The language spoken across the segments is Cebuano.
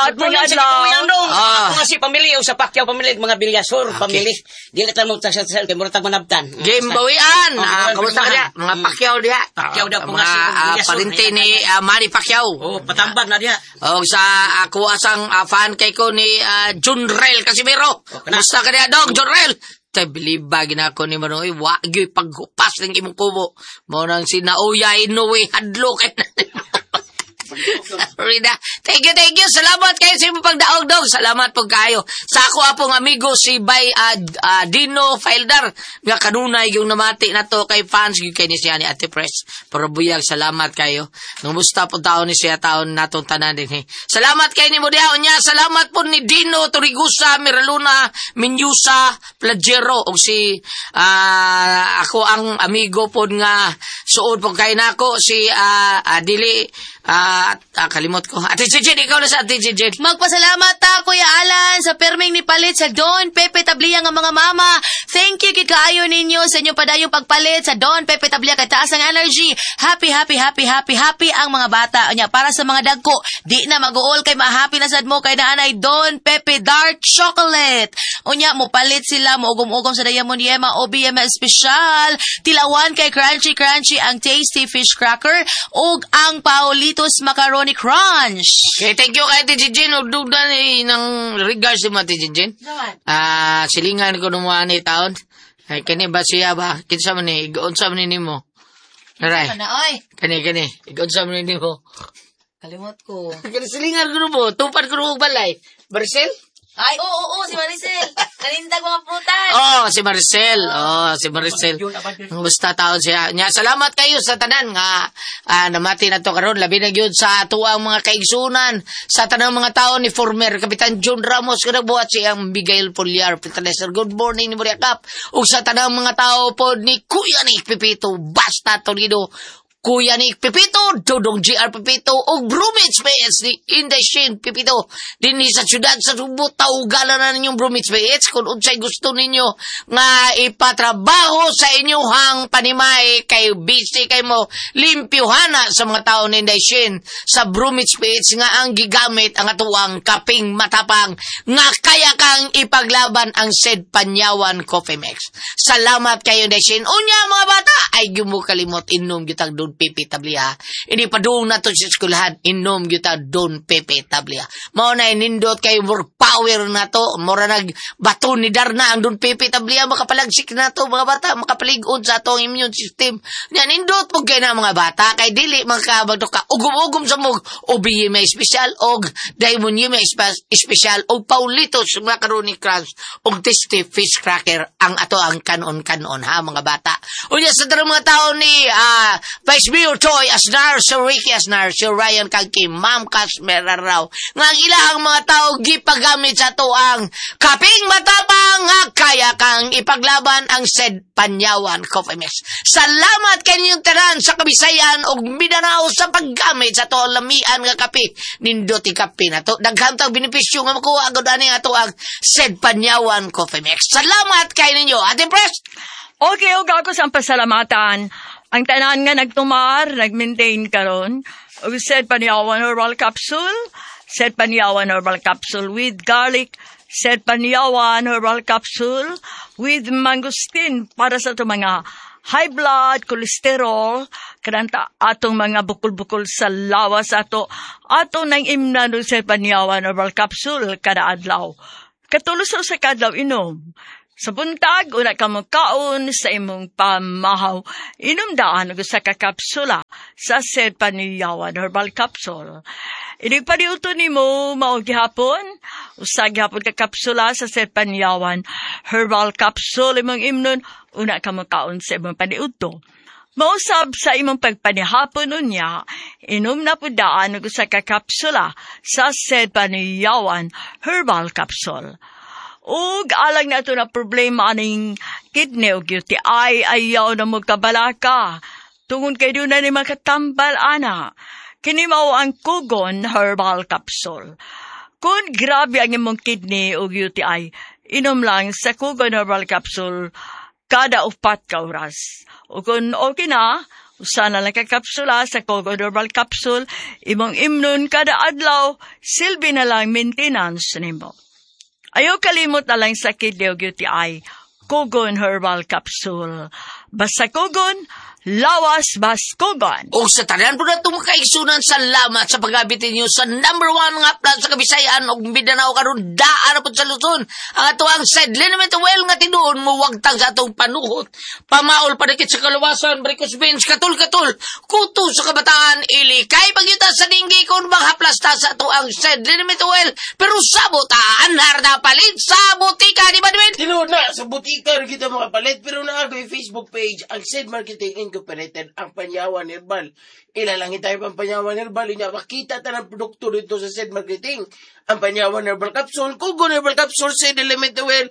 Salamat, Good morning sa adlaw. katuyang dong. Ah. Ako nga si pamilya o sa Pacquiao pamilya, mga Bilyasor pamilya. Dili ta mo sa sa kay murag manabtan. Game bawian. Oh, Ah, kamusta ka diya? Mga Pacquiao diha. Pacquiao daw po Mga nga si Bilyasor. parente ni Manny Pacquiao. Oh, patambag na diha. Og sa ako asang fan kay ko ni Junrel Casimiro. Oh, kana. Kamusta ka diha dong, Junrel? Tay biliba ginako ni Manoy, wa gyud paghupas ng imong kubo. Mao nang si Naoya Inoue hadlok kay. Rida. Thank you, thank you. Salamat kayo sa imong pagdaog dog. Salamat po kayo. Sa ako apong amigo si Bay Dino Fildar nga kanunay yung namati na to kay fans gyud kay ni siya ni Ate Press. Pero buyag salamat kayo. Ngumusta po taon ni siya taon natong tanan din. Eh. Salamat kay ni mo diha unya. Salamat po ni Dino Torigusa, Miraluna, Minyusa, Plagero og si ako ang amigo pod nga suod po kay nako si dili kalimot ko. Ate Jejin, ikaw na sa Ate Jejin. Magpasalamat ta, Kuya Alan, sa perming ni palit sa Don Pepe Tablia nga mga mama. Thank you kay kaayo ninyo sa inyong padayong pagpalit sa Don Pepe Tablia kay taas ang energy. Happy, happy, happy, happy, happy ang mga bata. Unya, para sa mga dagko, di na mag-uol kay ma-happy na sad mo kay naanay Don Pepe Dark Chocolate. Unya, mo palit sila, mo ugom-ugom sa Diamond Yema o BM Special. Tilawan kay crunchy crunchy ang Tasty Fish Cracker ug ang Paulitos Macaroni Crunch. Okay, thank you kay Ate Jejin. Ug dugdan ni ng regards mo Ate Jejin. Silingan ko nung ni taon. Ay, kani ba siya ba? Kinsa man ni? Igoon sa man ni nimo. Aray. Ano, oy? Kani, kani. Igoon sa man ni nimo. Kalimot ko. Kani silingan ko mo. Tupad ko nung balay. Marcel? Ay, oo, oo, oo, si Maricel. Nanindag mga prutas. Oh, si Marcel. Oh, si Marcel. Basta taon siya. Nya, salamat kayo sa tanan nga namati na to karon labi na gyud sa atuang mga kaigsunan sa tanang mga tao ni former Kapitan John Ramos nga nagbuhat siyang Miguel Poliar Fertilizer. Good morning ni Maria Cap. Ug sa tanang mga tao pod ni Kuya ni Pepito Basta Toledo, Kuya ni Pepito, Dodong GR Pepito, ug Brumits PS ni Inday Shane Pepito. Dinhi sa syudad sa Subo, tawgalan na ninyong Brumits PS kung unsay gusto ninyo nga ipatrabaho sa inyong panimay kay busy kay mo limpyuhana sa mga tao ni Inday Shane sa Brumits PH nga ang gigamit ang atuang kaping matapang nga kaya kang ipaglaban ang said Panyawan Coffee Mix. Salamat kayo Inday Shane. Unya mga bata, ay gyud mo kalimot inom gyud tag Don Pepe Tablia. Ini padung na to sa eskwelahan, inom gyud ta Don Pepe Tablia. Mao na nindot kay more power na to, mura nag bato ni Darna ang Don Pepe Tablia, makapalagsik na to mga bata, makapalig-on sa atong immune system. Nya nindot pud kay na mga bata kay dili makabagto ka ugom-ugom sa mog OBM may espesyal og Diamond Yema espesyal og Paulitos Macaroni Crunch og Tasty Fish Cracker ang ato ang kanon-kanon ha mga bata. Unya sa tanang mga tao ni Vice Mayor Toy Asnar, Sir Ricky Asnar, Sir Ryan Kagki, Ma'am Casmera raw nga ang ilahang mga tao gipagamit sa ato ang kaping matapang nga kaya kang ipaglaban ang said Panyawan Coffee Mix. Salamat kaninyong tanan sa Kabisayan og Mindanao sa paggamit sa ato ang lamian nga kape. Nindot kape na to. Daghan tag benepisyo nga makuha agad ani ato ang said Panyawan Coffee Mix. Salamat kay ninyo. Ate Pres. Okay, og ako sa pasalamatan. Ang tanan nga nagtumar, nag-maintain karon. Og said Panyawan Herbal Capsule, said Panyawan Herbal Capsule with garlic, said Panyawan Herbal Capsule with mangosteen para sa itong mga high blood, cholesterol, kananta atong mga bukol-bukol sa lawas ato, ato nang imnan og said Panyawan Herbal Capsule kada adlaw. Katulos sa kadlaw inom. Sa buntag, una ka mo kaon sa imong pamahaw. Inom daan og usa ka kapsula sa said Panyawan Herbal Capsule. Inig paniuto nimo mao gihapon, usa gihapon ka kapsula sa said Panyawan Herbal Capsule imong imnon, una ka mo kaon sa imong paniudto. Mausab sa imong pagpanihapon unya, inom na pud daan og usa ka kapsula sa said Panyawan Herbal Capsule. Ug alang na ito na problema aning kidney ug UTI, ayaw na mo kabalaka. Tungod kay doon na ni makatambal ana. Kini mao ang Kugon Herbal Capsule. Kung grabe ang imong kidney ug UTI, inom lang sa Kugon Herbal Capsule kada 4 ka oras. O kung okay na, Usa na lang ka kapsula sa Kogon Herbal Capsule, imong imnon kada adlaw, silbi na lang maintenance nimo. Ayaw kalimot na lang sa kidney ug UTI, Kogon Herbal Capsule. Basta Kogon, lawas bas Kogon. O sa tanan po na itong makaigsunan, salamat sa pag-abit ninyo sa number 1 nga plan sa Kabisayan ug Mindanao karon daan na po sa Luzon. Ang ato ang said liniment well nga tinuon mo wagtang sa atong panuhot. Pamaol padikit sa kalawasan, varicose veins, katul-katul, kuto sa kabataan, ili kay pagyuta sa dinggi kung maghaplasta sa ato ang said liniment well. Pero sabot, anhar na palit sa butika, di ba, Dwayne? Tinuod na, sa butika rin kita makapalit, pero naa ko'y Facebook page, ang Said Marketing Incorporated, ang Panyawan Herbal. Ilalangin tayo pang Panyawan Herbal, inya makita ta ng produkto dito sa Said Marketing. Ang Panyawan Herbal Capsule, Kugon Herbal Capsule, Said Element Oil,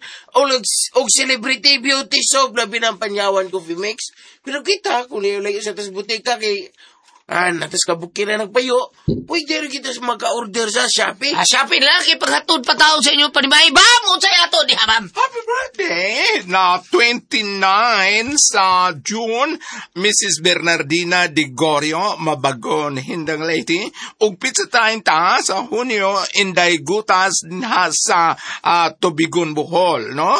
og Celebrity Beauty Soap, labi ng Panyawan Coffee Mix. Pero kita, kung layo sa tas butika, kay natas kabukin na nagpayo, pwede rin kita maka-order sa Shopee. Shopee lang, kay paghatod pa taon sa inyo panimay. Bam! Unsay ato, di ha, bam? Happy birthday! Na 29 sa June, Mrs. Bernardina Di Gorio, Mabagon, Hindang Leyte, ug pizza time ta sa Hunyo, Inday Gutas na sa Tubigon, Bohol, no?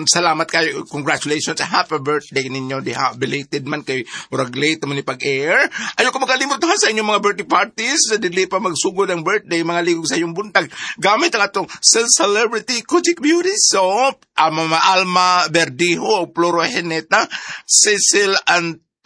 Salamat kayo. Congratulations. Happy birthday ninyo diha. Belated man kay murag late man ni pag-air. Ayaw ko makalimot ha sa inyong mga birthday parties. Dili pa magsugod ang birthday, mga ligog sa iyong buntag. Gamit ang atong Celebrity Kojik Beauty Soap, Mama Alma Verdijo, Floro Heneta, Cecil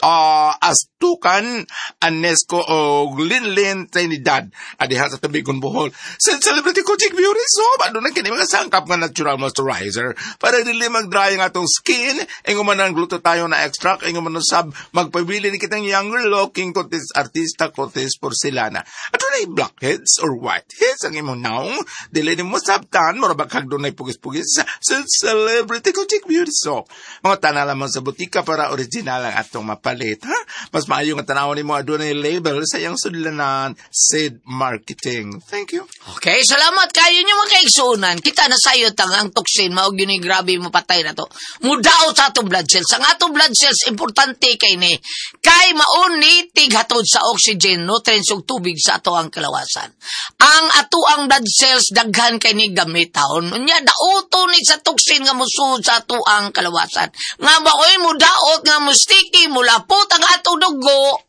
Astukan, Anesco o Linlin Trinidad. Adiha sa Tubigon, Bohol. Sa Celebrity Kojik Beauty Soap, ano na kini mga sangkap nga natural moisturizer para dili mag-dry ang atong skin. Ingon man ang glutathione na extract, ingon man ang sab magpabili ni kitang younger looking kutis artista kutis porcelana. Adunay blackheads or whiteheads ang imong naong, dili nimo sabtan, mura ba kag dunay pugis-pugis sa Celebrity Kojik Beauty Soap. Mga tanan lamang sa butika para original ang atong mapalit, ha? Mas maayo nga tanawon nimo adunay label sa iyang sudlanan, Sid Marketing. Thank you. Okay, salamat kayo nyo mga kaigsuonan. Kita na sayo tang ang toxin, maog yun yung grabe mo patay na to. Mudaot sa atong blood cells. Ang atong blood cells, importante kay ni. Kay maon ni tighatod sa oxygen, nutrients ug tubig sa ato ang kalawasan. Ang ato ang blood cells, daghan kay ni gamitaon. Unya, dauto ni sa toxin nga musuod sa ato ang kalawasan. Nga maoy mudaot nga mustiki, mulapot ang atong dugo.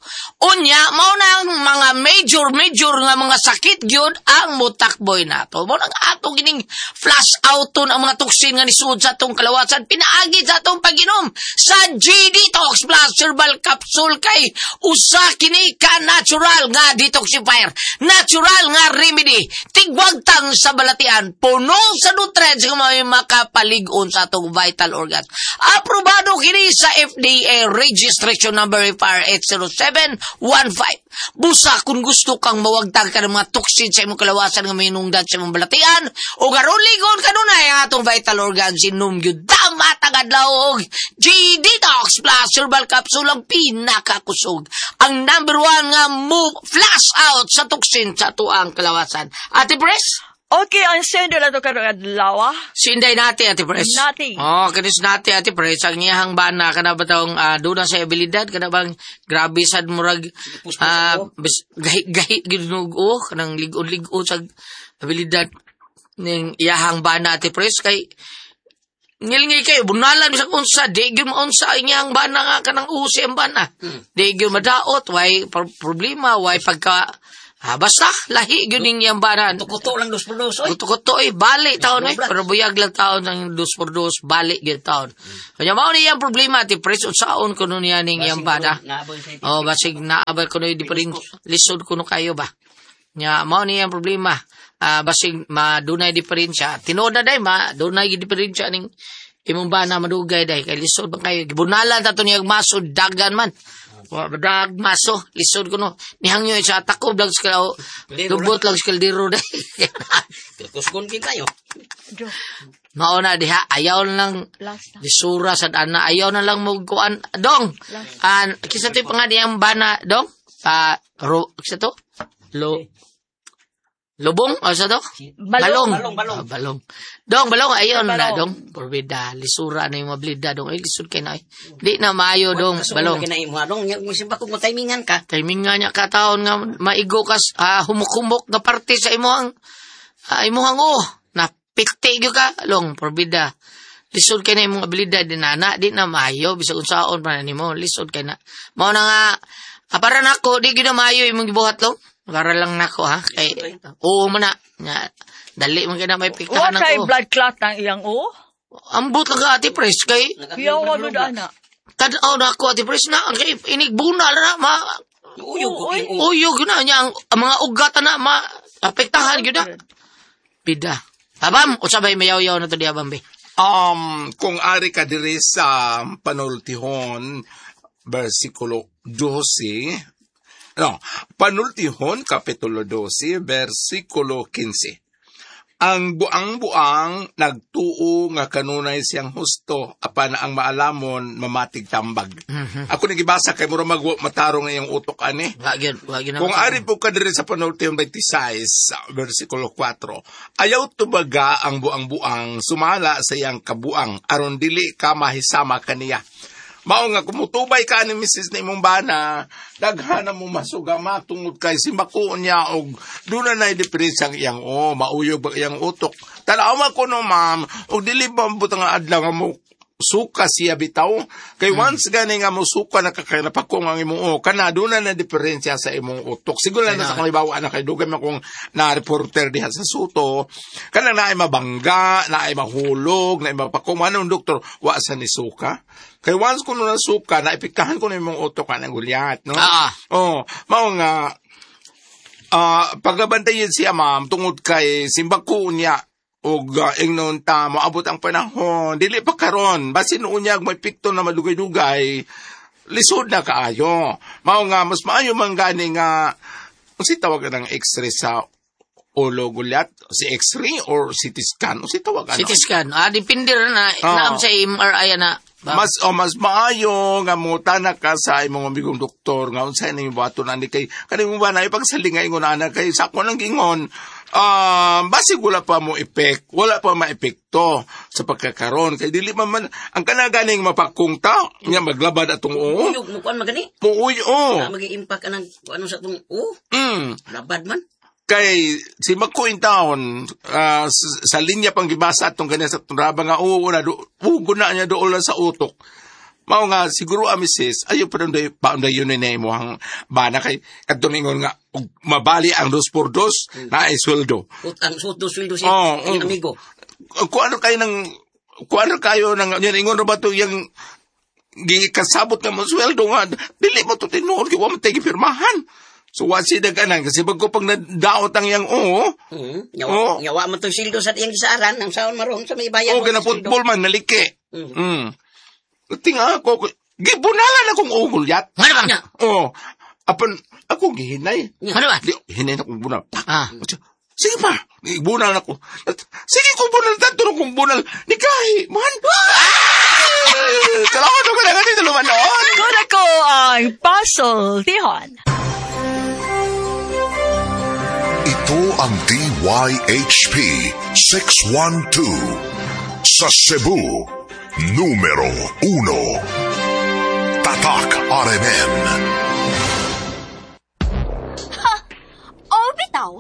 Unya, mao na ang mga major nga mga sakit gyud ang mutakboy nato. Mao nang ato gining flush out ang mga toxin nga nisuod sa atong kalawasan, pinaagi sa atong pag-inom sa G-Detox Plus Herbal Capsule kay usa kini ka natural nga detoxifier, natural nga remedy, tigwagtang sa balatian, puno sa nutrients nga may makapalig-on sa atong vital organs. Aprobado kini sa FDA registration number FR80715. Busa kung gusto kang mawagtang ka ng mga toxin sa imong kalawasan nga minungdan sa imong balatian o karon ligon kanunay ang atong vital organs, inom gyud damat ang adlaw og G-Detox Plus Herbal Capsule ang pinakakusog. Ang number 1 nga mo flash out sa toxin sa atuang kalawasan. Ate Pres? Okay, ang sendo na to karong adlaw. Sinday nati, Ate Pres. Nati. Oh, kanis nati, Ate Pres. Ang iyahang bana, kana ba tong doon na sa abilidad, kana bang grabe sad murag, gahi-gahi, ginugo, oh, kanang lig-on-lig-on sa abilidad ning iyahang bana, Ate Pres, kay ngilngil kayo, bunalan sa unsa, di gyud maunsa ang iyahang bana nga, kanang usi ang bana. Di gyud madaot, way problema, way pagka, basta, lahi gyud ning iyang bana. Tukuto lang 2x2, oy. Kuto-kuto, eh, bali taon, eh. Pero buyag lang taon ng 2x2, bali gyud taon. Kanya mao ni iyang problema, Ate Pres, unsaon kuno niya ning iyang bana. Oh, basig naabay kuno di pa rin lisod kuno kayo ba. Nya mao ni iyang problema. Basig madunay diferensya. Tinuod na day madunay diferensya ning imong bana madugay day kay lisod man kayo. Gibunalan ta to niya maso dagan man. Wa dag maso lisod kuno. Nihangyo sa takob lang sa lubot lang sa kaldero day. Kusgon kin kayo. Mao na diha ayaw lang lisura sad ana ayaw na lang mo kuan dong. An kisa to pa nga diyang bana dong. Pa ro kisa to? Lo. Lubong? O sa to? Balong. Balong, balong. Ah, balong. Dong, balong. Ayun na, Balong. dong. Porbida. Lisura na yung mablida, dong. Ay, lisod kay na. Di na maayo, dong. Balong. Kinaimo dong. Nya kung timingan ka. Timing nga niya kataon nga maigo kas humok-humok nga parte sa imuhang imuhang oh napikti gyud ka long porbida. Lisod kay na imong abilidad din na di na maayo bisag unsaon pa na nimo lisod kay na. Mao na nga para nako di gyud na maayo imong gibuhat long. Para lang nako ha kay oo man na nya dali man kay na may Wa piktahan kay ng blood clot ng iyang o. Ambot lang ka ate pres kay Yawa lud ana. tan-aw na ako ate pres na ang kay inigbunal na ma Uyog ko yung uyog na niya ang mga ugat na ma apektahan gyud na. Bida. Abam, usa bay mayaw-yaw na to di abam be. Kung ari ka diri sa Panultihon, versikulo 12, no, Panultihon, kapitulo 12, versikulo 15. Ang buang-buang nagtuo nga kanunay siyang husto apan ang maalamon mamatig tambag. Ako nagibasa kay mura mag matarong na iyang utok ani. Wa gyud, wa gyud na. Kung ari po ka diri sa Panultihon 26, versikulo 4, ayaw tubaga ang buang-buang sumala sa iyang kabuang aron dili ka mahisama kaniya. Mao nga kumutubay ka ni Mrs. na imong bana, daghan na mo masugama tungod kay simbako niya og doon na diferensya ang iyang o mauyog ba iyang utok. Tanaw man ko no ma'am, og dili ba butang nga adlaw nga mo suka siya bitaw kay once gani nga mo suka na kakay napakong ang imong o kana doon na diferensya sa imong utok siguro na sa kalibawa na kay dugay man kung na reporter diha sa Suto kana naay mabangga naay mahulog naay mapakong anong doktor wa sa ni suka kay once kuno na suka na epektahan kuno imong utok kanang gulyat no. Oh mao nga pagabantayan siya ma'am tungod kay simbako niya og ingnon ta moabot ang panahon dili pa karon basin unyag may pikto na madugay-dugay lisod na kaayo mao nga mas maayo man gani nga unsi tawag ng x-ray sa ulo gulyat si x-ray or CT scan unsi tawag ano CT scan. Depende ra na naam sa MRI na. Mas mas maayo nga mutana ka sa imong amigong doktor nga unsay ning buhaton ani kay kani mo ba na ipagsalinga ingon ana kay sa ako nang gingon basig wala pa mo epek, wala pa maepekto sa pagkakaron kay dili man man ang kanaganing mapakong ta nya maglabad atong oo. Uyog mo kuan magani. Muuy o. Na magi impact anang ano sa atong o. Labad man. Kay si Mako in town sa linya pang gibasa atong ganyan sa tunraba nga oo na ugo na niya dool sa utok. Mao nga siguro misis ayo pa dunday paunday yun na imong bana kay kadto ningon nga og mabali ang 2x2 na ay sweldo. Ang sweldo siya oh, amigo. Kung ano kayo ng kung ano kayo ng yan ingon ba to yang gikasabot nga mo sweldo nga dili mo to tinuod kay wa man tay gipirmahan. So wa si daganan kasi bago pag nadaot ang yang oo. Nyawa, nyawa man to sweldo sa iyang gisaaran ang saon maron sa may bayan. O kana football man naliki. Tinga ako, gibunalan akong ugol yat. Ano ba? Oo. Apan, ako gihinay. Ano ba? Di, hinay na akong bunal. Sige pa, bunal ako. Sige kung bunal, tanto na kong bunal. Nikahi, man. Salamat ko na ganito luman noon. Kuna ko ang Pasultihon. Ito ang DYHP 612 sa Cebu. Numero 1. Tatak RMN. Ha! O bitaw,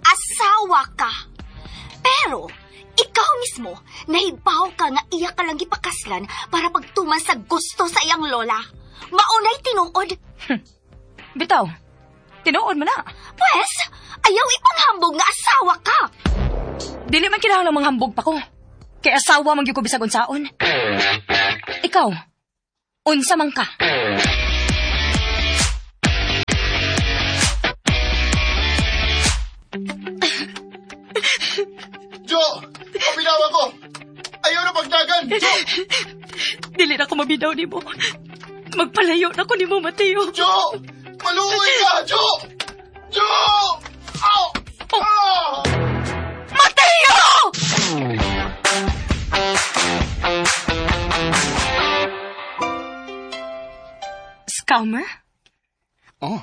asawa ka. Pero, ikaw mismo, nahibaw ka nga iya ka lang gipakaslan para pagtuman sa gusto sa iyang lola. Maunay tinuod. Bitaw, tinuod mo na. Pwes, ayaw ipanghambog nga asawa ka. Dili man kinahanglang manghambog pa ko. Kay asawa man gyud ko bisag unsaon. Ikaw, unsa man ka? Jo! Pabinawa ko! Ayaw na pagdagan! Jo! Dili na ko mabinaw nimo. Magpalayo na ko nimo, Mateo. Jo! Maluoy ka! Jo! Jo! Ow! Oh. Ah! Mateo! Scammer? Oh.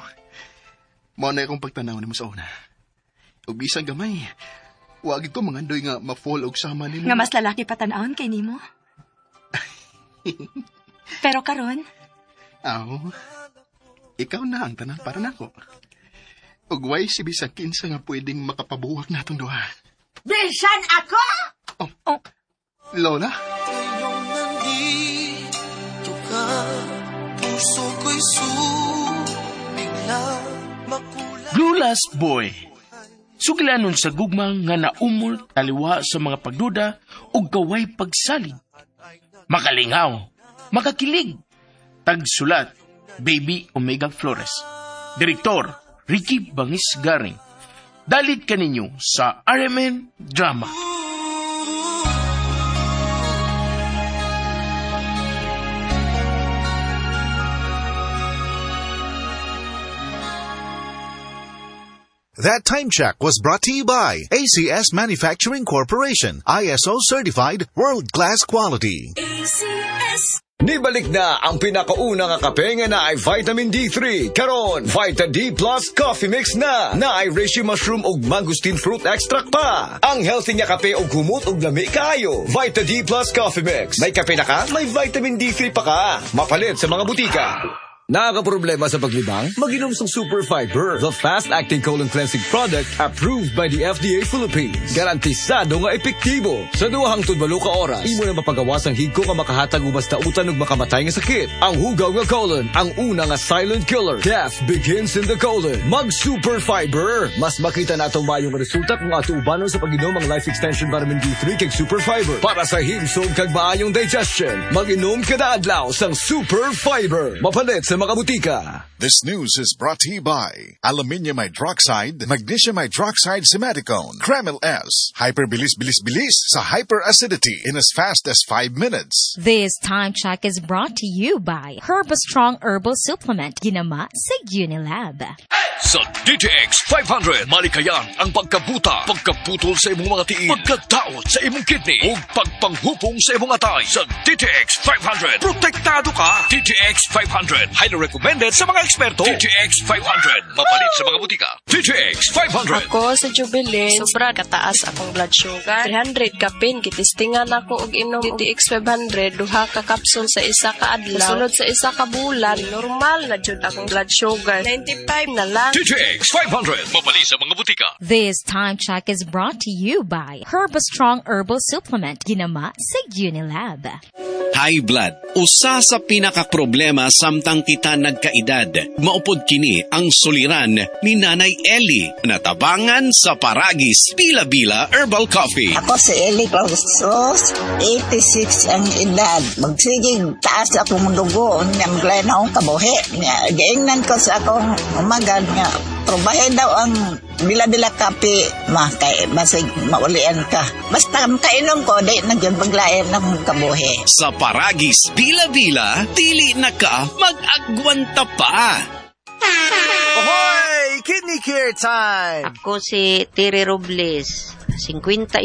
Mao na akong pagtanaw nimo sa una. Ug bisan gamay, wag ko mangandoy nga ma-fall og sama nimo. Nga mas lalaki pa tan-awon kay nimo. Pero karon, Aw, ikaw na ang tanan para nako. Ug way si bisan kinsa nga pwedeng makapabuwak natong duha. Bisan ako! Oh. Lola? Nandito ka, puso ko'y sumigla, makulay. Blue Last Boy. Sugilanon sa gugma nga naumol taliwa sa mga pagduda ug gaway pagsalig. Makalingaw, makakilig. Tagsulat, Baby Omega Flores. Direktor, Ricky Bangis Garing. Dalit kaninyo sa RMN Drama. That time check was brought to you by ACS Manufacturing Corporation, ISO certified, world-class quality. ACS. Nibalik na ang pinakauna nga kape nga naay vitamin D3. Karon, Vita D Plus Coffee Mix na. Naay reishi mushroom ug mangosteen fruit extract pa. Ang healthy nga kape ug humot ug lami kaayo. Vita D Plus Coffee Mix. May kape na ka, may vitamin D3 pa ka. Mapalit sa mga butika. Nakakaproblema sa paglibang? Maginom sa Super Fiber, the fast-acting colon cleansing product approved by the FDA Philippines. Garantisado nga epektibo. Sa 2 hangtod 8 ka oras, imo na mapagawas ang higko nga makahatag ubas dautan ug makamatay nga sakit. Ang hugaw nga colon, ang una nga silent killer. Death begins in the colon. Mag Super Fiber. Mas makita nato maayong resulta kung ato ubanon sa pag-inom ang Life Extension Vitamin D3 kag Super Fiber. Para sa himsog kag maayong digestion, mag-inom kada adlaw sang Super Fiber. Mapalit sa mga butika. This news is brought to you by Aluminium Hydroxide, Magnesium Hydroxide Simeticone, Kremil S, Hyper Bilis Bilis Bilis sa hyperacidity in as fast as 5 minutes. This time check is brought to you by Herbastrong Herbal Supplement, Ginama sa Unilab. Sa DTX 500, malikayan ang pagkabuta, pagkaputol sa imong mga tiil, pagkadaot sa imong kidney, ug pagpanghupong sa imong atay. Sa DTX 500, protektado ka. DTX 500, highly recommended sa mga eksperto. DTX 500, mapalit sa mga butika. DTX 500. Ako sa Jubilee, sobra kataas akong blood sugar. 300 kapin, gitistingan ako og inom DTX 500, duha ka kapsul sa isa ka adlaw. Sulod sa isa ka bulan, normal na jud akong blood sugar. 95 na lang. DTX 500, mapalit sa mga butika. This time check is brought to you by Herbastrong Herbal Supplement, Ginama sa Unilab. High blood, usa sa pinakaproblema samtang kita nagkaedad. Maupod kini ang suliran ni Nanay Eli na tabangan sa Paragis Bila-Bila Herbal Coffee. Ako si Eli Clausos, 86 ang edad. Magsigig taas akong dugo, nya maglain akong kabuhi. Nya giingnan ko sa akong umagan nga probahe daw ang bila-bila kape, ma, kay basig maulian ka. Basta kainom ko, di na gyud maglain akong kabuhi. Sa Paragis Bila-Bila, dili na ka mag-agwanta pa. Ahoy! Kidney care time! Ako si Tere Robles, 59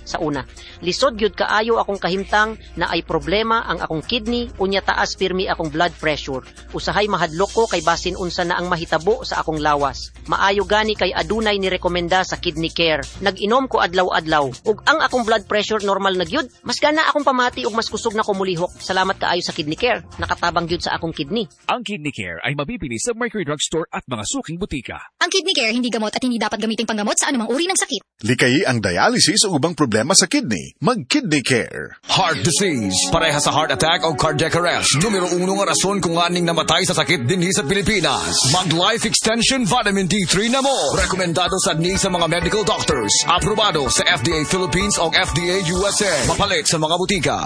sa una. Lisod gyud kaayo akong kahimtang na ay problema ang akong kidney unya taas pirmi akong blood pressure. Usahay mahadlok ko kay basin unsa na ang mahitabo sa akong lawas. Maayo gani kay adunay ni rekomenda sa kidney care. Nag-inom ko adlaw-adlaw ug ang akong blood pressure normal na gyud. Mas gana akong pamati ug mas kusog na ko mulihok. Salamat kaayo sa kidney care. Nakatabang gyud sa akong kidney. Ang Kidney Care ay mabibili sa Mercury Drug Store at mga suking butika. Ang kidney care hindi gamot at hindi dapat gamiting panggamot sa anumang uri ng sakit. Likayi ang dialysis o ubang problema sa kidney. Mag-kidney care. Heart disease, pareha sa heart attack o cardiac arrest. Numero uno nga rason kung aning namatay sa sakit dinhi sa Pilipinas. Mag-life extension vitamin D3 na mo. Rekomendado sa ni sa mga medical doctors. Aprobado sa FDA Philippines o FDA USA. Mapalit sa mga butika.